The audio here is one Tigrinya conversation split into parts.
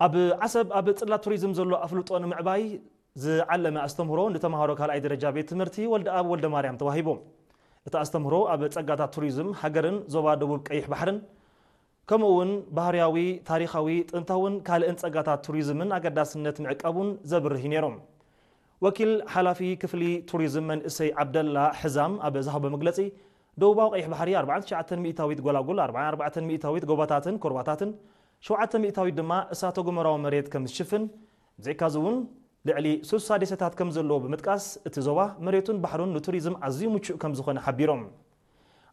ኣብ ዓሰብ ኣብ ጽላት ቱሪዝም ዘሎ ኣፍልጦ ንምዕባይ ዝዓለመ ኣስተምህሮ ንተምሃሮ ካልኣይ ደረጃ ቤት ትምህርቲ ወልደኣብ ወልደማርያም ተዋሂቡ። እቲ ኣስተምህሮ ኣብ ጸጋታት ቱሪዝም ሃገርን ዞባ ደቡብ ቀይሕ ባሕርን ከምኡ እውን ባህርያዊ፣ ታሪኻዊ፣ ጥንታውን ካልእን ጸጋታት ቱሪዝምን ኣገዳስነት ምዕቃቡን ዘብርህ እዩ ነይሩ። ወኪል ሓላፊ ክፍሊ ቱሪዝም መንእሰይ ዓብደላ ሕዛም ኣብ ዝሃቦ መግለጺ፣ ደቡባዊ ቀይሕ ባሕሪ ኣርባዓን ትሽዓተን ሚእታዊት ጎላጉል፣ ኣርባዓን ኣርባዕተን ሚእታዊት ጎቦታትን ኮርባታትን፣ ሸውዓተ ሚእታዊት ድማ እሳተ ጎመራዊ መሬት ከም ዝሽፍን፣ ብዘይካዚ እውን ልዕሊ ስሳ ደሴታት ከም ዘለዎ ብምጥቃስ፣ እቲ ዞባ መሬቱን ባሕሩን ንቱሪዝም ኣዝዩ ምቹእ ከም ዝኾነ ሓቢሮም።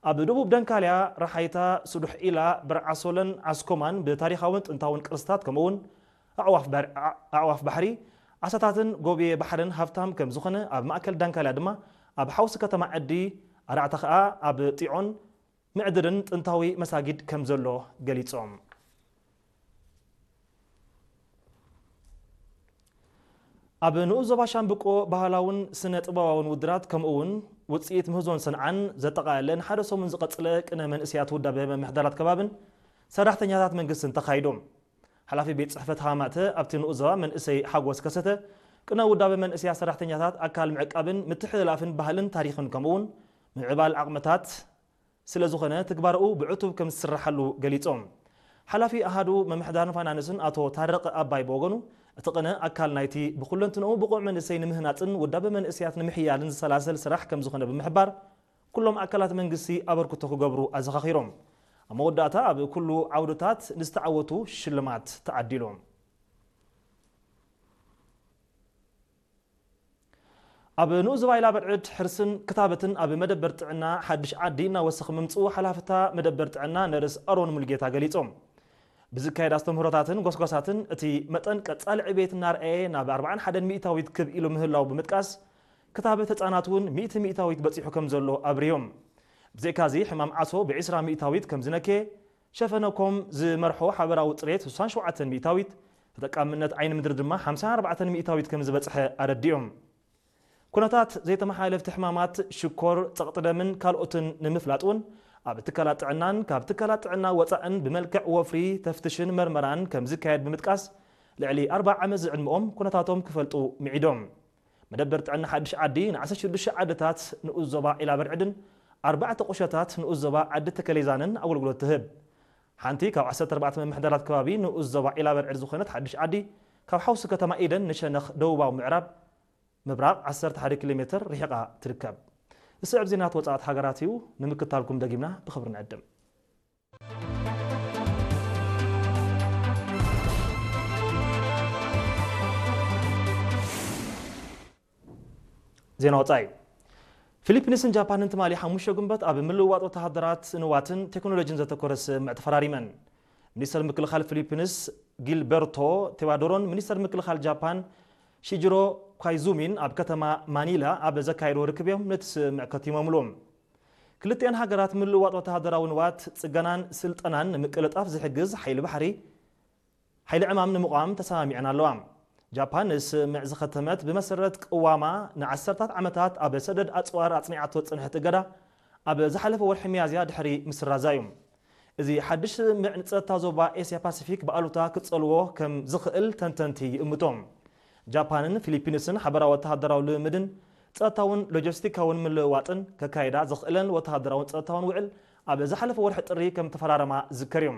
ኣብ ደቡብ ደንካልያ፣ ረሓይታ፣ ስዱሕ ኢላ፣ ብርዓሶለን ዓስኮማን ብታሪኻውን ጥንታውን ቅርስታት ከምኡውን ኣዕዋፍ ባር-፣ ኣዕዋፍ ባሕሪ፣ ዓሳታትን ጎብየ ባሕርን ሃብታም ከም ዝኾነ፣ ኣብ ማእከል ዳንካልያ ድማ ኣብ ሓውሲ ከተማ ዕዲ ኣራዕታ ኸኣ ኣብ ጢዖን ምዕድርን ጥንታዊ መሳጊድ ከም ዘሎ ገሊጾም። ኣብ ንኡስ ዞባ ሻምብቆ ባህላውን ስነ ጥበባውን ውድራት ከምኡ እውን ውጽኢት ምህዞን ሰንዓን ዘጠቓለለ ንሓደ ሰሙን ዝቐጽለ ቅነ መንእሰያት ውዳበ መምሕዳራት ከባብን ሰራሕተኛታት መንግስትን ተኻይዱ። ሓላፊ ቤት ጽሕፈት ሃማተ ኣብቲ ንኡስ ዞባ መንእሰይ ሓጎስ ከሰተ፣ ቅነ ውዳበ መንእሰያት ሰራሕተኛታት ኣካል ምዕቃብን ምትሕልላፍን ባህልን ታሪኽን ከምኡ እውን ምዕባል ዓቕምታት ስለ ዝኾነ ትግባርኡ ብዕቱብ ከም ዝስራሓሉ ገሊጾም። ሓላፊ ኣሃዱ ምምሕዳርን ፋይናንስን ኣቶ ታረቀ ኣባይ ብወገኑ፣ እቲ ቅነ ኣካል ናይቲ ብኩለንትንኡ ብቑዕ መንእሰይ ንምህናጽን ውዳበ መንእሰያት ንምሕያልን ዝሰላሰል ስራሕ ከም ዝኾነ ብምሕባር፣ ኩሎም ኣካላት መንግስቲ ኣበርክቶ ክገብሩ ኣዘኻኺሮም። ኣብ መወዳእታ ኣብ ኩሉ ዓውድታት ንዝተዓወቱ ሽልማት ተዓዲሉ። ኣብ ንኡስ ዞባ ኢላ በርዕድ ሕርስን ክታበትን ኣብ መደበር ጥዕና ሓድሽ ዓዲ እናወሰኸ ምምጽኡ ሓላፍታ መደበር ጥዕና ነርስ ኣሮን ሙልጌታ ገሊጾም። ብዝካየድ ኣስተምህሮታትን ጎስጓሳትን እቲ መጠን ቀጻሊ ዕቤት እናርኣየ ናብ ኣርባዓን ሓደን ሚእታዊት ክብ ኢሉ ምህላው ብምጥቃስ፣ ክታበት ህጻናት እውን ሚእቲ ሚእታዊት በጺሑ ከም ዘሎ ኣብርዮም። ብዘይካዚ ሕማም ዓሶ ብዒስራ ሚእታዊት ከም ዝነከየ፣ ሸፈነ ኮም ዝመርሖ ሓበራዊ ጽሬት ስሳን ሸውዓተን ሚእታዊት፣ ተጠቃምነት ዓይኒ ምድሪ ድማ ሓምሳን ኣርባዕተን ሚእታዊት ከም ዝበጽሐ ኣረዲኦም። ኩነታት ዘይተመሓላለፍቲ ሕማማት ሽኮር፣ ጸቕጢ ደምን ካልኦትን ንምፍላጥ እውን ኣብ ትካላት ጥዕናን ካብ ትካላት ጥዕና ወጻእን ብመልክዕ ወፍሪ ተፍትሽን መርመራን ከም ዝካየድ ብምጥቃስ፣ ልዕሊ ኣርብዓ ዓመት ዝዕድመኦም ኩነታቶም ክፈልጡ ምዒዶም። መደበር ጥዕና ሓድሽ ዓዲ ንዓሰርተ ሽዱሽተ ዓድታት ንኡስ ዞባ ዒላ በርዕድን ኣርባዕተ ቁሸታት ንኡስ ዞባ ዓዲ ተከሌዛንን ኣገልግሎት ትህብ። ሓንቲ ካብ ዓሰርተ ኣርባዕተ መምሕዳራት ከባቢ ንኡስ ዞባ ዒላ በርዕድ ዝኾነት ሓድሽ ዓዲ፣ ካብ ሓውሲ ከተማ ኢደን ንሸነኽ ደቡባዊ ምዕራብ ምብራቕ ዓሰርተ ሓደ ኪሎ ሜትር ርሒቓ ትርከብ። ዝስዕብ ዜናታት ወጻእት ሃገራት እዩ፣ ንምክታልኩም ደጊምና ብኽብሪ ንዕድም። ዜና ወጻኢ። ፊሊፒንስን ጃፓንን ትማሊ ሓሙሽተ ጉንበት ኣብ ምልውዋጥ ወተሃደራት ንዋትን ቴክኖሎጂን ዘተኮረ ስምምዕ ተፈራሪመን። ሚኒስተር ምክልኻል ፊሊፒንስ ጊልበርቶ ቴዋዶሮን ሚኒስተር ምክልኻል ጃፓን ሺጅሮ ኳይዙሚን ኣብ ከተማ ማኒላ ኣብ ዘካየድዎ ርክብ እዮም ነቲ ስምምዕ ከቲሞምሉ። ክልቲኣን ሃገራት ምልውዋጥ ወተሃደራዊ ንዋት፣ ጽገናን ስልጠናን ንምቅልጣፍ ዝሕግዝ ሓይሊ ባሕሪ፣ ሓይሊ ዕማም ንምቋም ተሰማሚዐን ኣለዋ። ጃፓን ንስምምዕ ዝኸተመት ብመሰረት ቅዋማ ንዓሰርታት ዓመታት ኣብ ሰደድ ኣጽዋር ኣጽኒዓቶ ዝጸንሐት እገዳ ኣብ ዝሓለፈ ወርሒ ሚያዝያ ድሕሪ ምስራዛ እዩ። እዚ ሓድሽ ስምምዕ ንጸጥታ ዞባ ኤስያ ፓሲፊክ ብኣሉታ ክጸልዎ ከም ዝኽእል ተንተንቲ ይእምቶ። ጃፓንን ፊሊፒንስን ሓበራዊ ወተሃደራዊ ልምምድን ጸጥታውን ሎጂስቲካውን ምልውዋጥን ከካይዳ ዝኽእለን ወተሃደራውን ጸጥታውን ውዕል ኣብ ዝሓለፈ ወርሒ ጥሪ ከም ተፈራረማ ዝዝከር እዩ።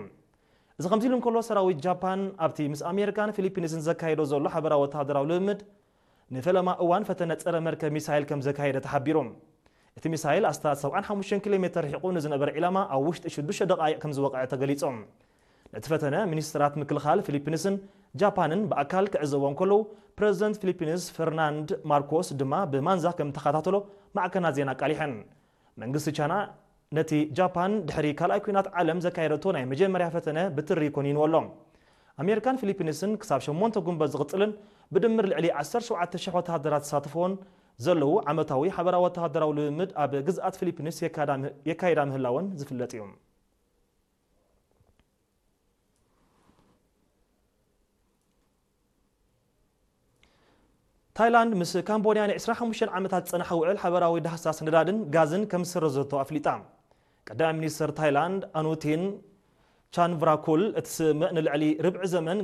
እዚ ከምዚ ኢሉ እንከሎ፣ ሰራዊት ጃፓን ኣብቲ ምስ ኣሜሪካን ፊሊፒንስን ዘካየዶ ዘሎ ሓበራዊ ወተሃደራዊ ልምምድ ንፈለማ እዋን ፈተነ ጸረ መርከብ ሚሳይል ከም ዘካየደ ተሓቢሩ። እቲ ሚሳይል ኣስታት ሰብዓን ሓሙሽተን ኪሎ ሜተር ርሒቑ ንዝነበረ ዒላማ ኣብ ውሽጢ ሽዱሽተ ደቓይቕ ከም ዝወቕዐ ተገሊጹ። ነቲ ፈተነ ሚኒስትራት ምክልኻል ፊሊፒንስን ጃፓንን ብኣካል ክዕዘቦ እንከለዉ፣ ፕረዚደንት ፊሊፒንስ ፈርናንድ ማርኮስ ድማ ብማንዛ ከም ተኸታተሎ ማዕከናት ዜና ኣቃሊሐን። መንግስቲ ቻይና ነቲ ጃፓን ድሕሪ ካልኣይ ኲናት ዓለም ዘካየደቶ ናይ መጀመርያ ፈተነ ብትሪ ኮኒንዎ ኣሎ። ኣሜሪካን ፊሊፒንስን ክሳብ ሸሞንተ ጉንበት ዝቕጽልን ብድምር ልዕሊ ዓሰርተ ሸውዓተ ሽሕ ወተሃደራት ዝሳተፍዎን ዘለዉ ዓመታዊ ሓበራዊ ወተሃደራዊ ልምምድ ኣብ ግዝኣት ፊሊፒንስ የካዳ-፣ የካይዳ ምህላወን ዝፍለጥ እዩ። ታይላንድ ምስ ካምቦድያ ንዕስራን ሓሙሽተን ዓመታት ዝጸንሐ ውዕል ሓበራዊ ዳህሳስ ነዳድን ጋዝን ከም ዝሰረዘቶ ኣፍሊጣ። ቀዳማይ ሚኒስተር ታይላንድ ኣኑቲን ቻንቭራኩል፣ እቲ ስምምዕ ንልዕሊ ርብዒ ዘመን